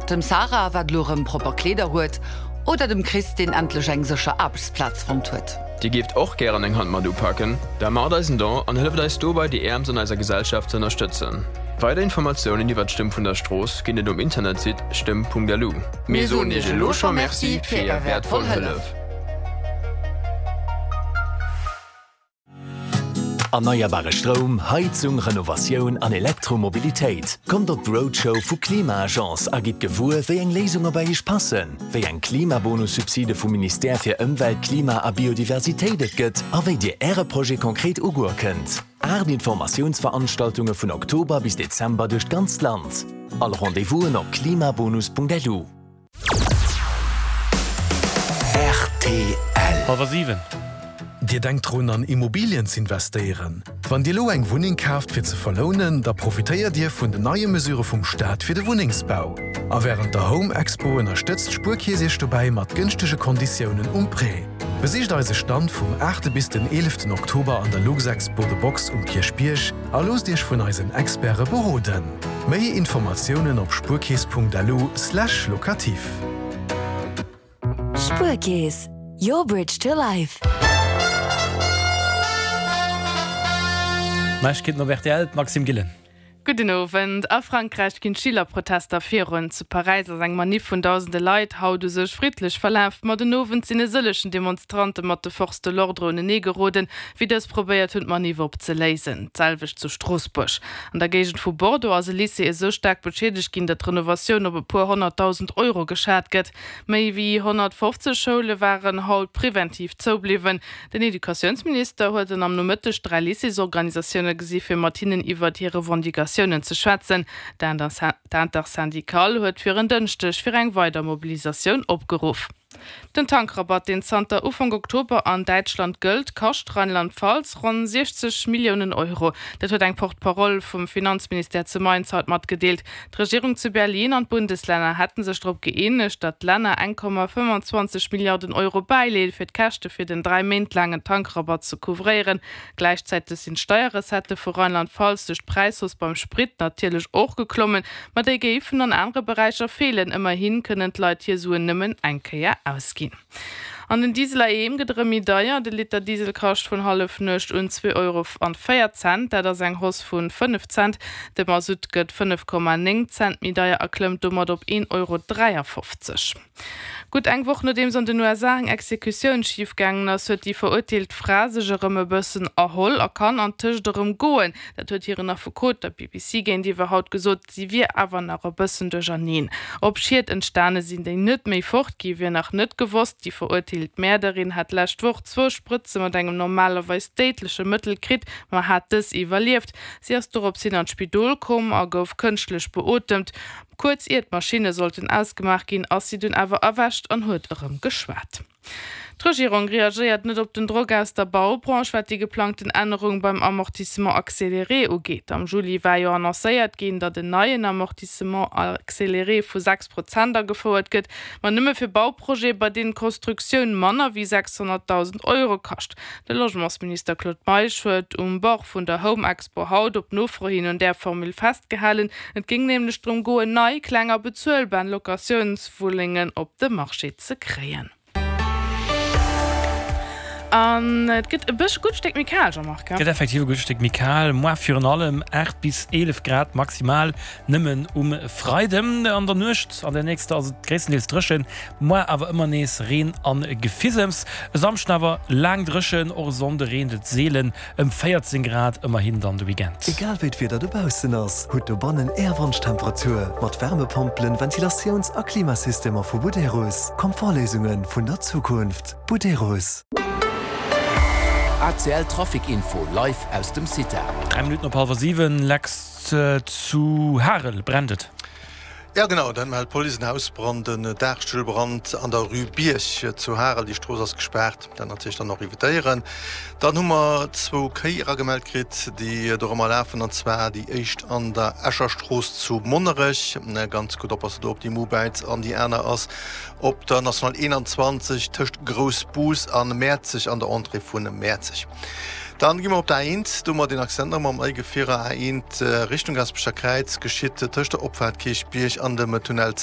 Dem Sarah, wat elo erëm propper Kleeder huet, oder dem Chris, deen endlech eng sécher Aarbechtsplaz fonnt huet. Dir géift och gären eng Hand mat upaken? Da maacht eis en Don an hëlleft eis dobei déi Äermst an eiser Gesellschaft ze ënnerstëtzen. Weider Informatiounen iwwert d'Stëmm vun der Strooss ginn et um Internetsite stëmm.lu. Mir soen Iech elo scho Merci fir Är wäertvoll Hëllef! Erneierbare Stroum, Heizung, Renovatioun an Elektromobilitéit. Kommt op d'Roadshow vu Klima-Agence a gitt gewuer, wéi eng Léisunge bei Iech passen, wéi eng Klimabonussubside vum Ministère fir Ëmwelt, Klima a Biodiversitéit et gëtt a wéi Dir Äre Projet konkret ugoe kënnt. 8 Informatiounsveranstaltunge vun Oktober bis Dezember duerch d'ganzt Land. All Rendez-vousen op klimabonus.lu. Rtl. Halwer 7. Dir denkt drun an Immobilien z'investéieren? Wann Dir elo eng Wunneng kaaft fir ze verlounen, da profitéiert Dir vun den neie Mesure vum Staat fir de Wunnengsbau. A wärend der Home Expo ënnerstëtzt d'Spuerkeess Iech dobäi mat gënschtege Konditiounen um Prêt. Besicht eise Stand vum 8 bis den 11 Oktober an der Luxexpo The Box um Kierchbierg a loosst Iech vun eisen Experte beroden. Méi Informatiounen op spuerkeess.lu slash locatif. Spuerkeess, your bridge to life. Neiegkeeten op rtl, d'Maxime Gillen. Gudden Owend. A Frankräich ginn d'Schülerprotester virun. Zu Paräis ass eng Maniff vun dausende Leit haut u sech friddlech verlaf, ma den Owend sinn e sëllechen Demonstrante mat de Forces de l'ordre unenee geroden, wéi dës probéiert hunn d'Maniff opzeléisen. D'selwecht zu Stroossbuerg. An der Géigend vu Bordeaux ass e Lycée esou staark beschiedegt ginn, datt d'Renovatioun op e puer 100.000 Euro geschat gëtt. Méi wéi 150 Schoule waren haut preventiv zoubliwwen. Den Educatiounsminister huet en am Nomëtteg 3 Lycéesorganisatioune gesi fir mat hinnen iwwert hir Revendicatiounen ze schwätzen. D'Intersyndicale huet fir en Dënschdeg fir eng weider Mobilisatioun opgeruff. Den Tankrabatt, deen zanter Ufank Oktober an Däitschland gëllt, kascht Rheinland-Pfalz ronn 60 Milliounen Euro. Dat huet eng Porte-parole vum Finanzministère zu Mainz haut matgedeelt. D'Regierung zu Berlin an d'Bundeslänner hätte sech drop gëeenegt, datt d'Länner 1,25 Milliarden Euro bäileeën, fir d'Käschte fir den 3 Méint laangen Tankrabatt ze couvréieren. Gläichzäiteg sinn d'Steierrecettë vu Rheinland-Pfalz duerch d'Präishausse beim Sprit natierlech och geklommen, ma déi géifen an anere Beräicher feelen. Ëmmerhi kënnen d'Leit hir Suen nëmmen eng Kéier ausginn. An den Diesel heiheem gëtt erëm méi deier. De Liter Diesel kascht vun Hallefnuecht un 2 Euro an 4 Cent, dat ass eng Hausse vu 5 Cent. De Masutt gëtt 5,9 Cent méi deier a klëmmt domat op 1,53 Euro. Gutt eng Woch nodeems an den USA eng Exekutioun schif gaangen ass, huet déi verurteelt Fra sech erëm e bëssen erholl a kann antëscht erëm goen. Dat huet hiren Affekot der BBC géintiwwer haut gesot. Si wier awer nach e bëssen duercherneen. Ob Schied entstane sinn, déi net méi fort gi wier nach net gewosst. Déi verurteelt Mäerderin hat d'lescht Woch zwou Sprëtze mat engem normalerweis déidleche Mëttel kritt, ma hat dës iwwerlieft. Si ass dorops hin an d'Spidol komm a gouf kënschtlech beotemt. Kuerz ier d'Maschinne sollten ausgemaach ginn, ass si dunn awer erwächt an huet erëm geschwat. D'Regierung reagéiert net op den Drock aus der Baubranche, wat déi geplangten Ännerung beim Amortissement accéléré ugeet. Am Juli war jo annoncéiert ginn, datt en neien Amortissement accéléré vu 6 Prozent agefouert gëtt, ma nëmme fir Bauprojete, bei deenen d'Constructioun manner wéi 600.000 Euro kascht. De Logementsminister Claude Meisch huet um Bord vun der Home Expo haut op Nofro hin un där Formule festgehalen. Et géing nämlech drëm goen, nei, kleng a bezuelbar Locatiounswunnengen op de Marché ze kréien. An et gëtt e bëssche gutt Stéck méi kal, Jean-Marc. Gëtt effektiv e gutt Stéck méi kal. Moar virun allem 8 bis 11 Grad maximal nëmmen um Freiden. An der Nuecht an der nächster ass et gréisstendeels dréchen, moar awer ëmmer nees Reen an Gefisems. E Samschden awer laang dréchen, och e Sonnde reent et seelen. Ëm 14 Grad ëmmerhin dann de Weekend. Egal wéi d'Wieder dobaussen ass, hutt dobannen Är Wonschtemperatur mat Wärmepompelen, Ventilatiouns a Klimasystemer vu Buderus. Komfortléisunge vun der Zukunft. Buderus. ACL Trafic Info live aus dem CITA. 3 Minutten op hallwer 7, Lex, zu Harel brennt et. Jo genau, dat mellt d'Police. En Hausbrand, en Daachstullbrand an der Rue Bierg zu Harel. Déi Strooss ass gespaart. Dat natierlech dann och evitéieren. Dann hu mer zwou Kéi eragemellt kritt, déi dorëmmer lafen, an zwar déi éischt an der Escher Strooss zu Monnerech, ganz gutt oppassen do op déi Mobäiz, an déi aner ass op der National 21 tëscht Groussbus a Mäerzeg an der Entrée vu Mäerzeg. Dann gi mer op der A1, do hu mer deen Accident nach mam Eigefierer A1 Richtung Gaasperecher Kräiz, geschitt tëscht der Opfaart Kierchbierg an dem Tunnel.